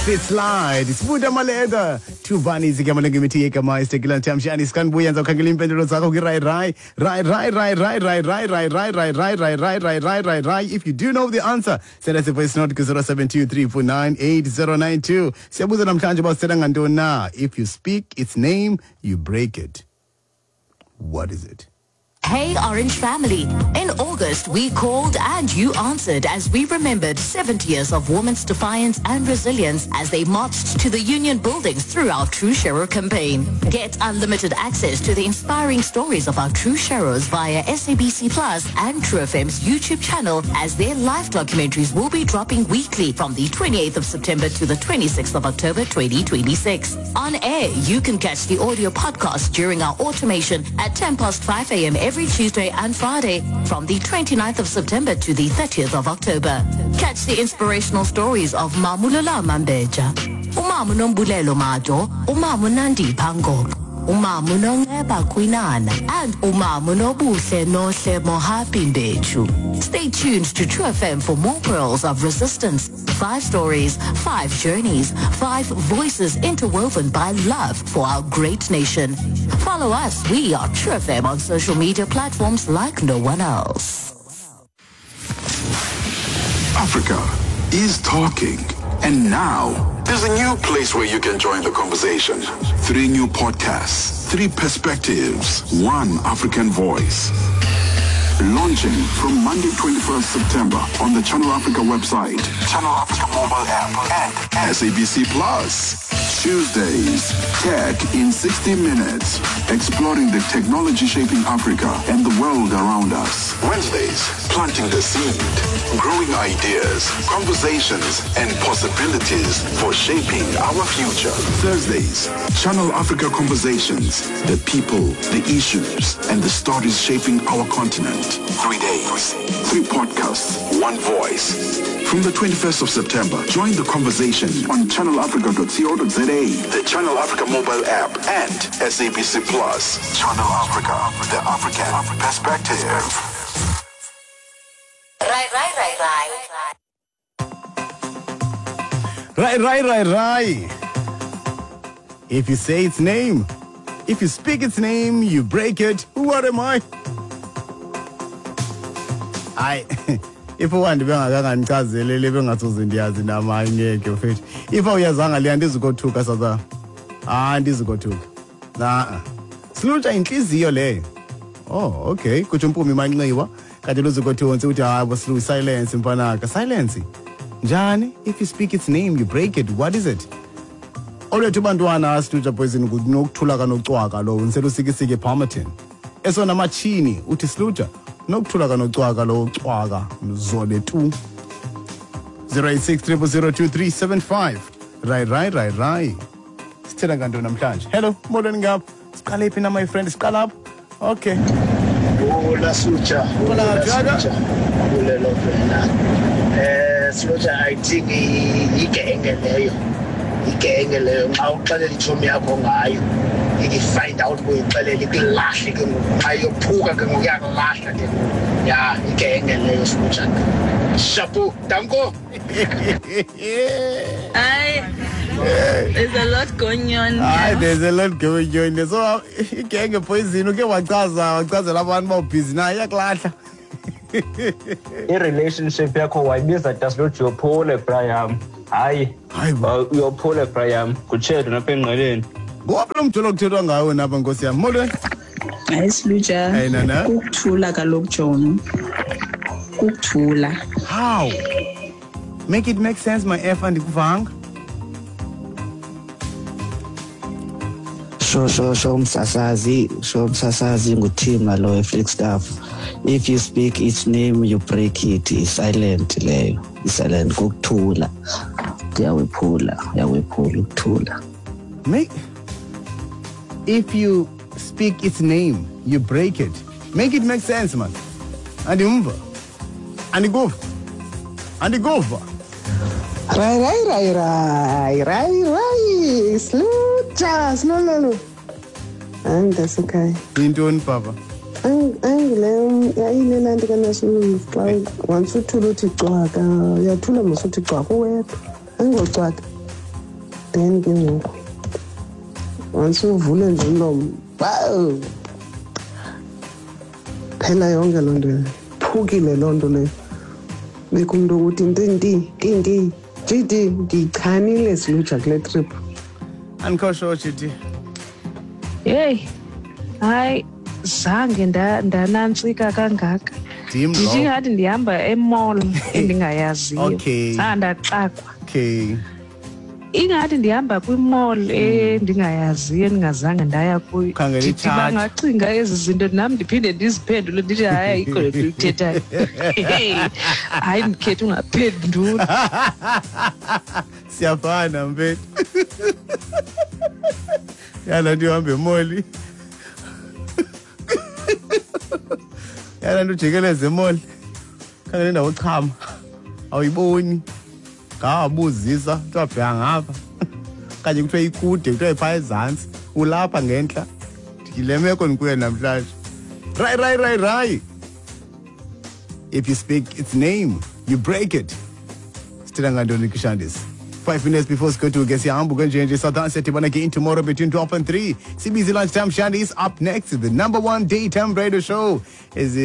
Sit slide sibuda maleda thuvani igama lengimithi yegama isitekilanthamshani sikanbuya ndizawukhangela iimpendulo zakho kwi-rai rai rai rai rai rai rai rai rai rai rai rai rai rai rai rai rai rai. If you do know the answer, send us a voice note ku-072 349 8092. Siyabuza namhlanje uba sithetha ngantoni na. If you speak its name, you break it. What is it? Hey Orange family. In August, we called and you answered as we remembered 70 years of women's defiance and resilience as they marched to the union buildings through our True Sharer campaign. Get unlimited access to the inspiring stories of our True Sharers via SABC Plus and True FM's YouTube channel, as their live documentaries will be dropping weekly from the 28th of September to the 26th of October 2026. On air, you can catch the audio podcast during our automation at 10 past 5 a.m. every Tuesday and Friday from the 29th of September to the 30th of October. Catch the inspirational stories of Mamulula Mambeja, Umamu Nombulelo Majo, Umamu Nandi Pango, Umamu Nongeba Kwinana, and Umamu Nobuhle Nohle Mohapi Mbechu. Stay tuned to True FM for more pearls of resistance. Five stories, five journeys, five voices interwoven by love for our great nation. Follow us. We are True FM on social media platforms like no one else. Africa is talking. And now, there's a new place where you can join the conversation. Three new podcasts, three perspectives, one African voice. Launching from Monday, 21st September on the Channel Africa website, Channel Africa mobile app, and SABC Plus. Tuesdays, Tech in 60 Minutes, exploring the technology shaping Africa and the world around us. Wednesdays, planting the seed, growing ideas, conversations, and possibilities for shaping our future. Thursdays, Channel Africa Conversations, the people, the issues, and the stories shaping our continent. 3 days, three podcasts, one voice. From the 21st of September, join the conversation on channelafrica.co.za, the Channel Africa mobile app, and SABC Plus. Channel Africa, the African perspective. Rai, rai, rai, rai. Rai rai rai rai. If you say its name, if you speak its name, you break it. What am I? Hayi, if uwandi bengakangandichazeli le, bengathuze ndiyazi nam. Hayi, ngeke mfethu. If awuyazanga le, andizukothuka sasa, hayi, andizukothuka na silutsha intliziyo leyo. Oh, okay, kutsho uMpumi Manxiwa. Kanti luzukothuka uthi hayi bo silu silence mfanaka silence njani? If you speak its name, you break it. What is it? Olwethu bantwana, silutsha poison nokuthula kanocwaka lo ndiselusikisike Palmerton. Esona matshini uthi silutsha nokuthula kanocwaka lo cwaka mzole tu. 086 0002375. Rai rai rai rai, sithela ngantoni namhlanje? Hello, molweni ngapha. Siqale phi na, my friend? Siqala apho, okay. Hola Sucha, Hola, hola Jaga. Sucha. Bulelo vena. Sucha, I think igenge leyo. Igenge leyo xa uxelela itshomi yakho ngayo. Iki-find out kuyixelela ikulahle ke ngoku. Xa iyophuka ke ngoku iyakulahla ke ngoku. Ya, igenge leyo Sucha. Chapeau, danko. Hayi, there's a lot going on Hayi, here. there's a lot going on. So igenge poison uke wachaza wachazela abantu uba ubhizi nayo iyakulahla. I-relationship yakho wayibiza daslothi uyophule, Brian. Hayi. Hayi bo. Uyophule, Brian, kutshedo napha engqeleni. Ngowaphi lo mjolo kuthethwa ngawo napha, nkosi yam? Molweni. Hayi Silutsha, Hey, Nana. Kukuthula kaloku John. Kukuthula. How? Make it make sense, my f, andikuvanga. Sho sho sho msasazi, sho msasazi, nguthima lo eFlagstaff. If you speak its name, you break it. I-silent leyo, i-silent kukuthula. Uyawephula, uyawephula ukuthula. Make if you speak its name, you break it. Make it make sense, man. Andimva, andikuva, andikuva. Rai rai rai rai rai rai, Slutsha silololo. Hayi mntasekhaya. Yintoni, papa? Ayingile yayile nto kanasilungu xa once uthula uthi cwaka, uyathula mos, uthi cwaka uwedwa, ayingocwaka. Then ke ngoku once uvule nje umlomo, wow, phela yonke loo nto leyo, phukile loo nto leyo. Bekho umntu ukuthi ntinti ntinti jidi, ndiyichanile siluja kule trip. Andikho sure, GD. Heyi, hayi, zange ndanantsika kangaka. Ndim Ndithi lowo. ingathi ndihamba e-mall endingayaziyo. Okay. Zandaxakwa. Okay. Ingathi ndihamba kwi-mall endingayaziyo, endingazange ndaya kuyo. Khangela Ndithi itshaji. bangacinga ezi zinto nam ndiphinde ndiziphendule ndithi hayi, ayikho le nto uyithethayo. Hayi, ndikhetha ungaphenduli. Siyafana mfethu. Yala nto ihamba emoli. Yala nto ujikeleze emoli. Khangela indawo ochama. Awuyiboni. Ngawabuzisa, kuthiwa bheka ngapha. Okanye kuthiwa ikude, kuthiwa iphaa ezantsi. Ulapha ngentla. Yile meko ndikuyo namhlanje. Right, right, right, right. If you speak its name, you break it. Sithetha ngantoni Kishandis? 5 minutes before sigoduke, siyahamba kwenje nje. South Africa siyadibana again tomorrow between 12 and 3. CBC Lunchtime Shandis. Up next, the number one daytime radio show is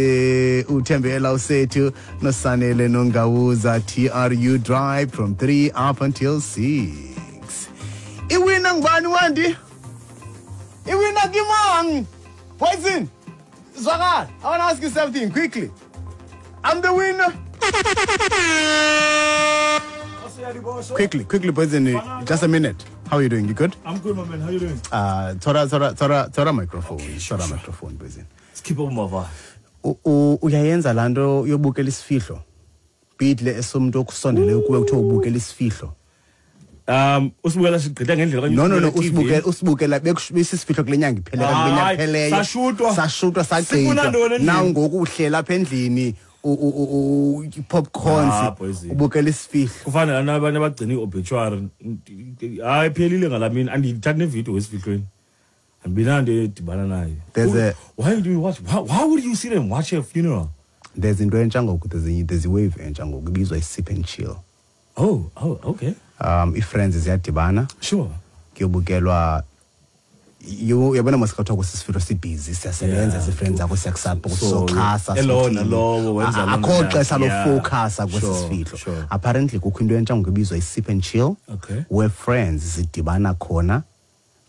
uThembela Usethu noSanele Nongawuza, TRU Drive from 3 up until 6. Iwina ngubani Wandi? Iwina kimang? Poison. Zwakala, I want to ask you something quickly. I'm the winner. Quickly, quickly, Poison, just a minute. How are you doing? You good? I'm good, my man. How are you doing? Tora, tora, tora, tora microphone. Tora microphone, Poison. Let's keep up, my vibe. Uyayenza laa nto yobukela isifihlo? Bidle esomntu okusondeleyo kuwe kuthiwa ubukela isifihlo. Usibukela sigqitha ngendlela okanye No, no, no, usibukela e-TV? usibukela besisifihlo kule nyanga iphele, kule nyanga Hayi, ipheleyo. sashutwa. Sashutwa, Sifuna sagqitha. ntoni endlini? Now ngoku uhlela apha endlini, popcorns, Ah, Poison. ubukela isifihlo. Kufana nabanye abagcina i-obituary. Hayi, iphelile ngalaa mini. Andiyithathi nevidiyo esifihlweni. Andibinanto edibana nayo. Why do you watch? Why would you sit and watch a funeral? There's into entsha ngoku, there's a wave entsha ngoku ibizwa i-sip and chill. Oh, okay. I-friends ziyadibana. Sure. Kuyobukelwa, uyabona mos kuthiwa kwesisifihlo sibhizi, siyasebenza, si-friends zakho, siyakusapota, So, sizoxhasa, elona sothini. lowo wenza loo Akho nto. xesha Yeah. lofocasa kwesi Sure, sifihlo. sure. Apparently kukho into entsha ngoku ebizwa i-sip and chill, Okay. where friends zidibana khona,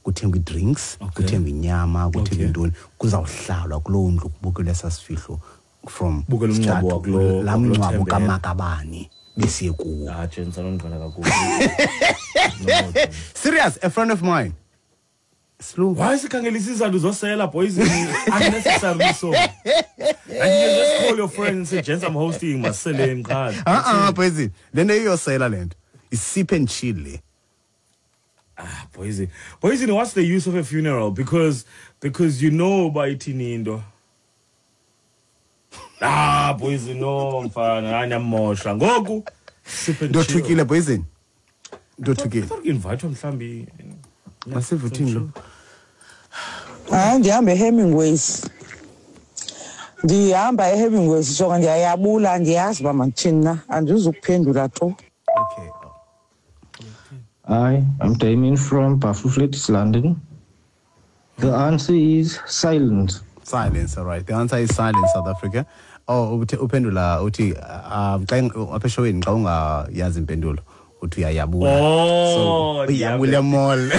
kuthengwa ii-drinks, kuthengwa inyama, kuthengwa intoni, kuzawuhlalwa kuloo ndlu kubukelwe esaa sifihlo from Bukela umngcwabo start laa wakulo mngcwabo Thembela. kamakabani besiye kuwo. Ah, gents, anondibona kakhulu. Serious, a friend of mine. Slow. Why sikhangela isizathu zosela, boys? Unnecessarily so. And you just call your friend and say, gents, I'm hosting, maseleni qha. Ah, boys, le nto iyosela le nto. I-sip and chill le. Ah, Poison. Poison, what's the use of a funeral? Because you know by ithini into. Ah, Poison, no, mfana, anyamosha. Ngoku sip and chill. Ndothukile, Poison. Ndothukile. I thought invite mhlambi. Masive uthini lo? Hayi, ndihamba eHemingways. Ndihamba eHemingways, so ndiyayabula, andiyazi uba mandithini na, andizukuphendula tu. Okay. Hi, I'm Damien from Buffalo, London. The answer is silence. Silence, all right. The answer is silence, South Africa. Oh, uphendula uthi xa apha eshoweni xa ungayazi impendulo uthi uyayabula. Oh, So, uyabula mall.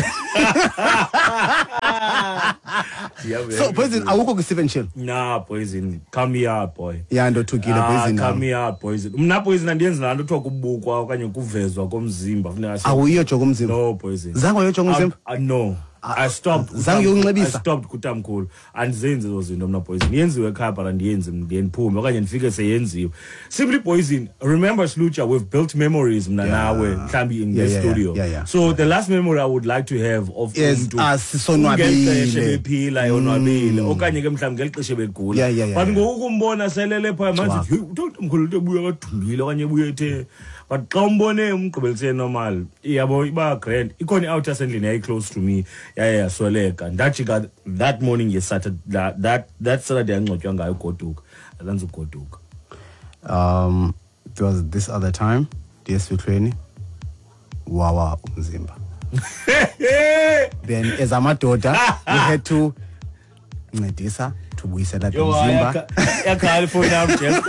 So, Poison, awukho kwi-sip and chill? Nah, Poison, come here, boy. Yeah, ndothukile, Poison, Come here, Poison. Mna, Poison, andiyenzi laa nto kuthiwa kubukwa okanye kuvezwa komzimba. Funeka Awuyiyo umzimba? No, Poison. Zange wayojonga umzimba? No. I stopped. Zange uyokunxibisa? I stopped kutamkhulu. Andizenzi ezo zinto mna, Poison. Yenziwe ekhaya, but andiyenzi, ndiye ndiphume okanye ndifike seyenziwe. Simply, Poison, remember, Slucha, we've built memories mna nawe mhlawumbi in this studio. So the last memory I would like to have of Yes, umntu sisonwabile. ngeli xesha ebephila yonwabile okanye ke mhlawumbi ngeli xesha ebegula. But ngoku umbona selele phaya manje, hey, utamkhulu into ebuya kadumbile okanye ebuya ethe. But xa umbone umgqibelisele normal, yabo iba grand. Ikhona i-out yasendlini yayi-close to me, yaye yasweleka. Ndajika that morning yesaturday, that Saturday yangcwatywa ngayo ugoduka. Azanze ugoduka. There was this other time, ndiye esifihlweni, wawa umzimba. Then as amadoda we had to ncedisa to buyisela Yo, umzimba. yakhala ifowuni yam, Jeff.